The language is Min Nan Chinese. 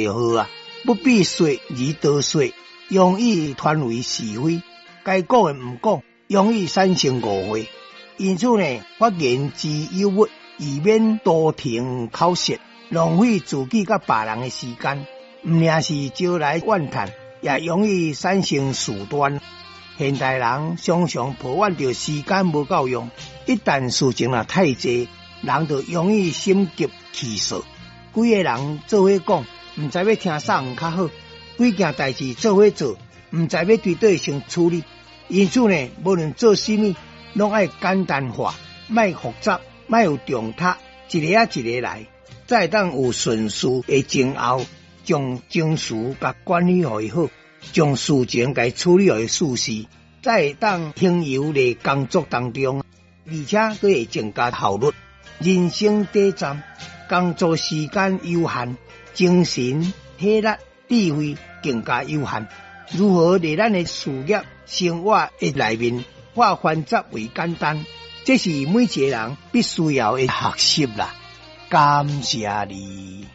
禍啊！不必說而多說，容易傳為是非；該講的毋講，容易產生誤會。因此呢，發言之有物，以免徒停口舌，浪費自己佮別人的時間。毋爾是招來怨嘆，也容易產生事端。現代人常常抱怨著時間無夠用，一旦事情若太濟，人就容易心急氣躁。幾个人做伙講，毋知欲聽啥人較好；幾件代誌做伙做，毋知欲對佗先處理。因此呢，無論做啥物，攏愛簡單化，莫複雜，莫有重疊，一个仔一个來，才會當有順序的前後，將情緒共管理予伊好，將事情共處理予伊順勢，才會當輕遊佇工作當中，而且閣會增加效率。人生短暫，工作時間有限，精神、體力、智慧更加有限。如何佇咱的事業、生活的內面化繁雜為簡單？這是每一个人必須要的學習啦。感謝你。